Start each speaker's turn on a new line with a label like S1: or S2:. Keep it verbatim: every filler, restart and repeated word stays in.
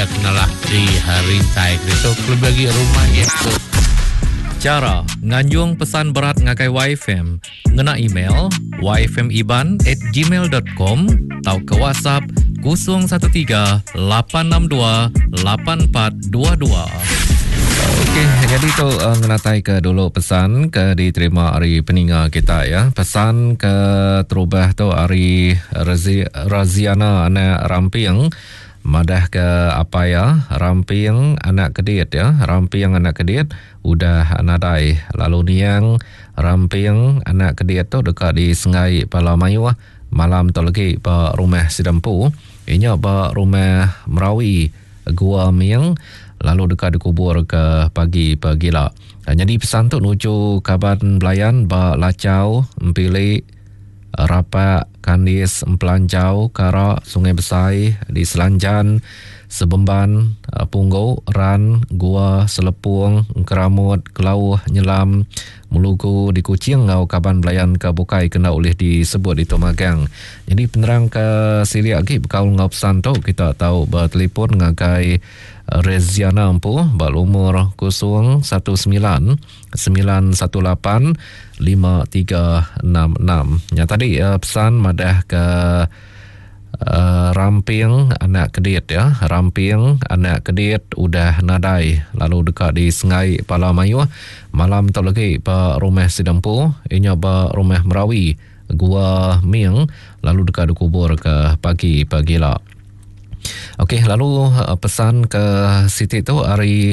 S1: iya kenalah di rintai ditu kelebih agi rumah iya tu.
S2: Chara nganjung pesan berat ngagai Waifm ngena email yfmiban at gmail dot com tauka WhatsApp kosong satu tiga lapan enam dua lapan empat dua dua.
S3: Okey, jadi tu uh, ngenatai ke dulu pesan ke diterima ari peninga kita ya. Pesan ke terubah tu ari Razi, Raziana anak Ramping madah ke apa ya Ramping anak Kedit ya. Ramping anak Kedit udah nadai lalu niang Ramping anak Kedit tu dekat di Sengai Pala Mayuh malam tu lagi ba rumah Sidempu inya ba rumah Merawi Gua Ming lalu dekat dikubur ke pagi pagila. Jadi pesan tu nuju kaban belayan ba Lacau, Empilik, Rapak, Kandis, Empelanjau, Kara, Sungai Besai, di Selanjan, Sebemban, Punggu, Ran, Gua, Selepung, Engkeramut, Kelauh, Nyelam, Melugu di Kuching ngau kaban belayan ke bukai kena ulih disebut di Magang. Jadi penerang ke silik lagi bekaul ngau pesan tu kita tahu bertelefon ngagai Reziana empu ba lumur kosong satu sembilan sembilan satu lapan lima tiga enam enam. Yang tadi uh, pesan madah ke uh, Ramping anak Kedit ya. Ramping anak Kedit udah nadai lalu dekat di Sengai Pala Mayuh malam tu lagi ba rumah Sidempu inya ba rumah Merawi Gua Ming lalu dekat dikubur ke pagi pagila. Okey, lalu pesan ke Siti tu hari